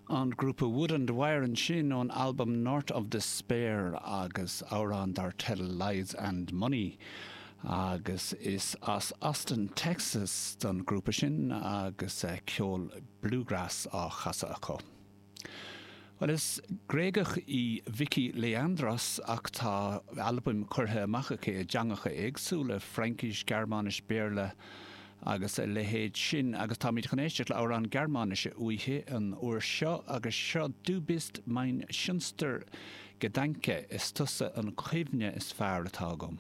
An grúpa Wood and Wire ansin ón albam North of Despair agus amhrán dar teideal Lies and Money. Agus is as Austin, Texas don ghrúpa sin agus ceol bluegrass á chasadh acu. Bhuel, is Gréagach í Vicky Leandros ach tá albaim curtha amach aici i dteangacha éagsúla, Fraincis, Gearmáinis, Béarla agus a leithéid sin, agus táimid chun éisteacht le amhrán Gearmáinise uaithi an uair seo agus seo Du bist mein schönster Gedanke, Is tusa an chuimhne is fearr atá agam.